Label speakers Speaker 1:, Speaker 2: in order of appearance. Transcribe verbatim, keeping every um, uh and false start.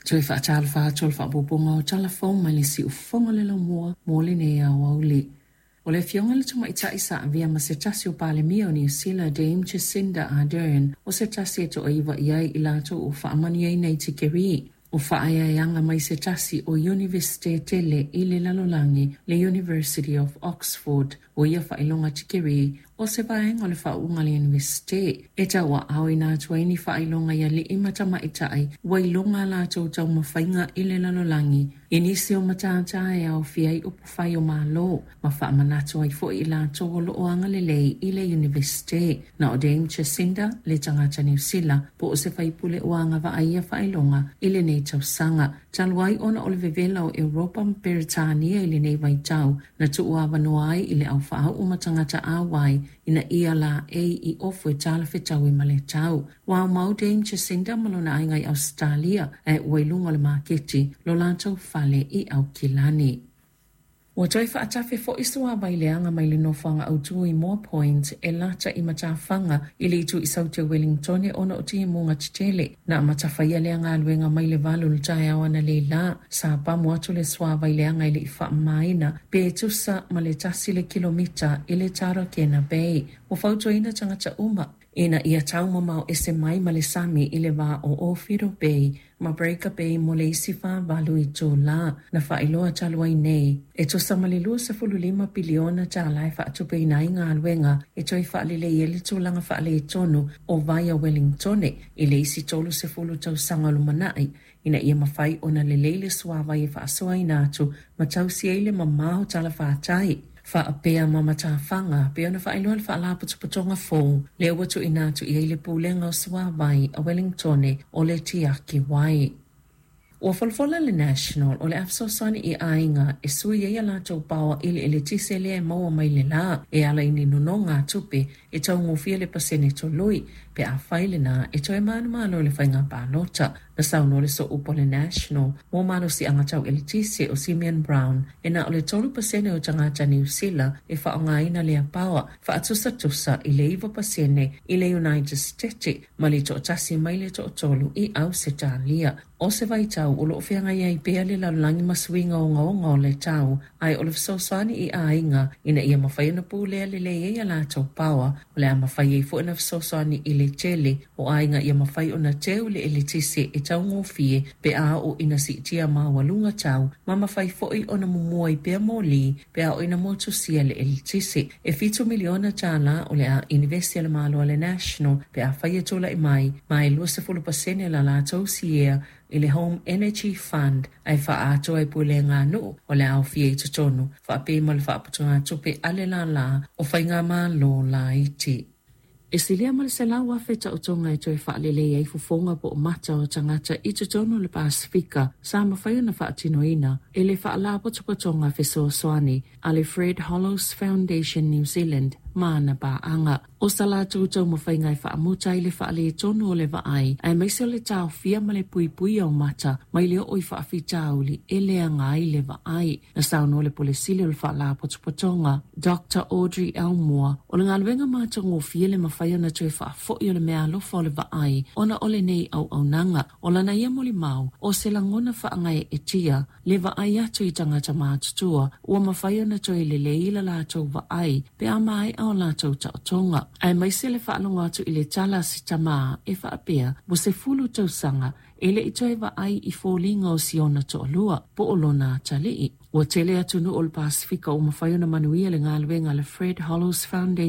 Speaker 1: Toe faatalofa atu o le faaopoopoga o tala fou mai le siufofoga o le laumua mo lenei aoauli. O le afioga i le tamaitai sa avea ma se tasi o Palemia o Niu Sila, Dame Jacinda Ardern, o se tasi e toaiva i ai i latou ua faamanuiaina i tikerii o faaeaeaga mai se tasi o Iunivesite tele i le lalolagi, le University of Oxford. O ia faailoga tikerii o se vaega o le faauuga a le Iunivesite e tauaaoina atu ai ni faailoga i alii ma tamaitai ua iloga a latou taumafaiga i le lalolagi i nisi o matata e aofia ai upufai o Malo, ma faamanatu ai foi i latou o loo agalelei i le Iunivesite. Na o Dame Jacinda le tagata Niu Sila po o se faipule ua agavaa i ia faailoga i lenei tausaga, talu ai ona o le vevela o Europa ma Peretania i lenei vaitau, na tuuavanoa ai i le aufaau'u ma tagata auai ina ia laei i ofu e talafetaui ma le tau. Ua aumau Dame Jacinda ma lona aiga i Ausetalia, ae ua i luga o le maketi lo latou fale i Aukilani. Ua toe faatafe foi suāvai leaga mai le nofoaga autu i Moa Point e lata i matafaga i le itu i Saute o Wellingtone ona o timuga tetele. Na amata faia lea galuega mai le valu o le taeao analeila. Sa pamu atu le suāvai leaga e le i faamamaina pe tusa ma le tasi le kilomita i le Tarakena Bay. Ua fautuaina tagata uma ina ia taumamao ese mai ma le sami i le va o Owhiro Bay ma Breaker Bay mo le isi fāvalu itulā. Na faailoa talu ai nei, e tusa ma le luasefulu lima piliona tālā e faatupeina ai galuega e toe faalelei ai le tulaga faaletonu o vai a Wellingtone i le isi tolusefulu tausaga o lumanai, ina ia mafai ona lelei le suāvai e faasoaina atu ma tausi ai le mamao talafatai faapea ma matafaga, pei ona faailoa le Faalapotopotoga fou lea ua tuuina atu i ai le Pulega o Suāvai a Wellingtone, o le Tiaki Wai. Ua folafola le National o le a fesoasoani i aiga e sui ai a latou paoa i le eletise lea e maua mai le lā e ala i ni nonogatupe e taugofie le pasene tolui, pe afai lena e toe manumalo i le faiga palota. Na saunoa le sooupu o le National mo malosiaga tau eletise o Simeon Brown, e na o le tolu pasene o tagata Niu Sila e faaaogaina lea paoa, faatusatusa i le iva pasene i le United States ma le toatasi mai le toatolu i Ausetalia. O se vaitau o loo feagai ai pea le lalolagi ma suiga ogaoga o le tau, ae o le fesoasoani i aiga ina ia mafai ona pulea lelei ai a latou paoa, o le a mafai ai foi ona fesoasoani i le tele o aiga ia mafai ona teu le eletise e taugofie pe a oo ina siitia maualuga tau, ma mafai foi ona mumua ai pea moli pe a oo ina motusia le eletise. E fitu miliona tālā o le a inivesi a le Malo a le National pe afai e tulai mai, ma e luasefulu pasene la latou siea i le Home Energy Fund ae faaatoa ai pulega nuu o le aofia i totonu faapea ma le faaputugatupe a le lālā o faigamalo laiti. E silia ma le selau afe taotoga e toe faalelei ai fofoga po o mata o tagata i totonu o le Pasifika sa mafai ona faatinoina e le Faalapotopotoga Fesoasoani a le Fred Hollows Foundation New Zealand ma ana paaga. O sa latou taumafaiga e faamuta ai le faaletonu o le vaai, aemaise o le taofia ma le puipuia o mata mai le oo i faafitauli e leaga ai le vaai. Na saunoa le Pule Sili o le Faalapotopotoga, Doctor Audrey Elmore, o le galuega matagofie le mafai ona toe faafoi o le meaalofa o le vaai ona o lenei auaunaga. O lana ia molimau, o se lagona faagaeetia le vaai atu i tagata matutua ua mafai ona toe lelei la latou vaai pe a maea o latou taotoga, aemaise le faalogo atu i le tala a se tamā e faapea ua sefulu tausaga e le i toe vaai i foliga o si ona toalua po o lona atalii. Ua tele atunuu o le Pasifika ua mafai ona manuia le galuega a le Fred Hollows Foundation.